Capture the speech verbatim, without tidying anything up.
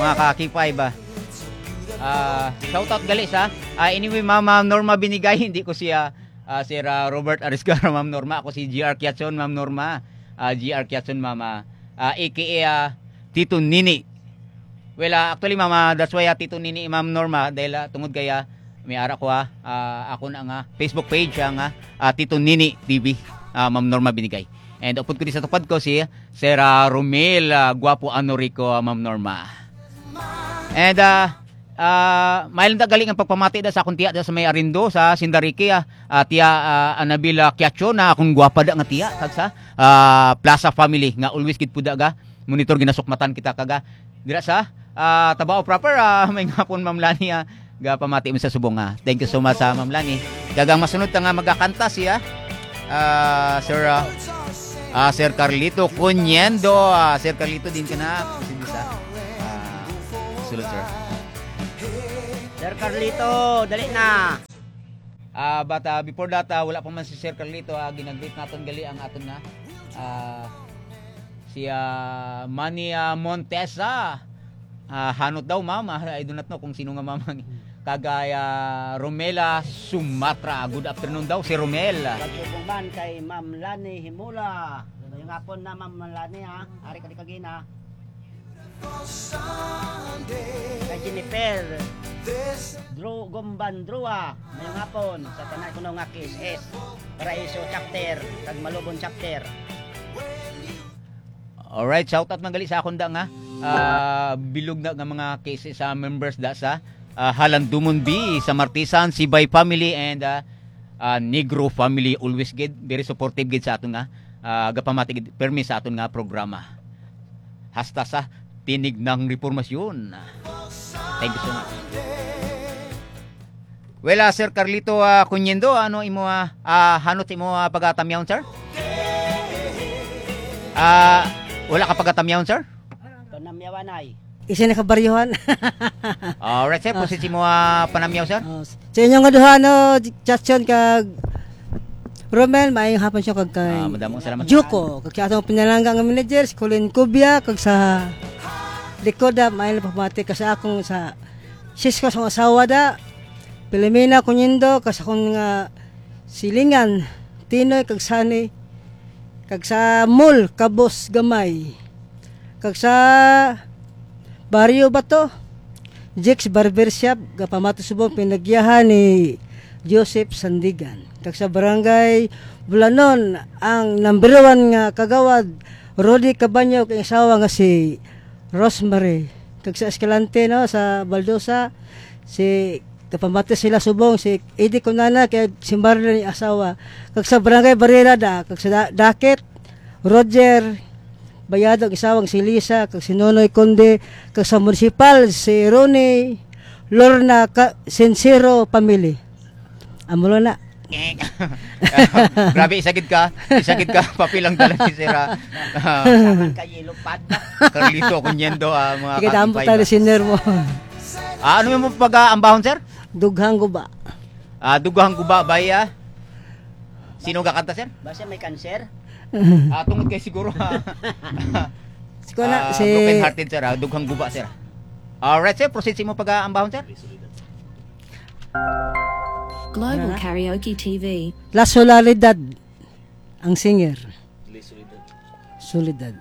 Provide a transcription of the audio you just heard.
Mga ka-K five, ah. Ah, shout out gali sa, ah, anyway, Ma'am, Ma'am Norma Binigay, hindi ko siya, ah, Sir, ah, Robert Ariscara, Ma'am Norma. Ako si G R Kiatson, Ma'am Norma. Ah, G R Kiatson, Ma'am, ah, ah, A K A, ah, Tito Nini. Well, ah, actually, Ma'am, ah, that's why, ah, Tito Nini, Ma'am Norma, dahil, ah, tungod kaya, may ara ko, ah, ah, ako na nga Facebook page, ah, nga, ah, Tito Nini T V, ah, Ma'am Norma Binigay. And upod ko di sa tupad ko si Sir, ah, Romel, ah, Guapo Anorico, ah, Ma'am Norma. And, ah, ah, may lang da gali ang pagpamati da sa akong tiya da sa may Arindo, sa Sindariki, ah, ah, tiya, ah, Anabel, ah, Kiacho, na akong gwapa da nga tiya, kag sa, ah, Plaza family, nga always gid po da ga monitor, ginasukmatan kita kaga dira sa, ah, Tabao proper, ah, may ngapon, Ma'am Lani, ah, gapamati mo sa subong, ah. Thank you so much, ah, Ma'am Lani. Kag ang masunod ta nga magakanta siya, ah, Sir, ah, ah, Sir Carlito Cuniendo. Ah, Sir Carlito, din ka na. Sige sa, ah, sulod, sir. Sir Carlito, dali na. Ah, but, ah, before that, ah, wala pa man si Sir Carlito, ah, ginagreet naton gali ang aton nga, ah, si, ah, Manny, ah, Montesa. Ah, hanot daw, ma'am. Ah, I do not know kung sino nga ma'am ang kagay, ah, Romela Sumatra. Good afternoon daw si Romel. Pagtubong man kay Ma'am Lani Himula. Yung hapon na, Ma'am Lani, ha? Ari ka di kagina. Kay Jennifer Drew Gumban Drua, ngayong hapon, sa tanan kuno nga K S S, Paraiso Chapter, kag Malubon Chapter. Alright, shout out man gali sa akon da nga, ah, bilog na nga mga K S S, ah, members da sa, ah, Halandumon B, sa Martisan, Sibay family, and, ah, ah, Negro family, always gid, very supportive gid sa aton nga, ah, gapamati gid, permi sa aton nga programa. Hasta sa Tinig ng Repormasyon. Thank you so much. Well, ah, Sir Carlito, ah, Cuniendo, ano imo, ah, ah, hanot sa imo, ah, pagatamyaw, sir? Ah, wala ka pagatamyaw, sir? Panamyawanay. Isa na kabaryohan. Alright, sir. Ah. Proceed sa imo, ah, panamyaw, sir. Oh, sa inyo nga duha, no, Chatsyon kag Romel, maayong hapon siya kag kay Ah, madamong salamat. Juko, kag sa atong pinalangga nga manager, si Colin Cubia, kag sa likod, ah, maayong pamati ka sa akong sa Cisco sa asawa da, Pilomena Cuniendo, kag sa akong nga silingan, Tinoy kag Sani, kag sa Mall, Kabos Gamay, kag sa Barrio Bato, Jake's Barbershop, gapamato subong pinagyahan ni Joseph Sandigan. Kag sa Barangay Bulanon, ang number one nga kagawad, Rudy Cabaño, kag asawa nga si Rosemary. Kag sa Escalante, no, sa Baldosa, si, gapamato sila subong, si Eddie Cunana, kag si Marlene, asawa. Kag sa Barangay Barrera da, kag sa Da-, Dakit, Roger Bayado, ang asawa nga si Lisa, kag si Nonoy Conde, kag sa munisipal, si Ronnie Lorna Ka-, Sincero family. Amo lang na. Grabe, isa gid ka, isa gid ka, papel ang dala ni Sir, ah. Ah, Saman kay Ilupad. Carlito Cuniendo, ah, mga Sige, damo ka-K five, tayo ah. Senior mo. Ah, ano yung pag-aambahon, sir? Dughang guba. Ah, Dughang guba ba, ah? Sino gakanta, sir? Basta may cancer? Ah, tungod kay siguro, ah, Siguro na, ah, si broken hearted, sir, ah. Dughang guba, sir. Alright, sir. Proceed sa imo pag-aambahon, sir. Global Ano na? Karaoke T V. La Soledad, ang singer. Soledad.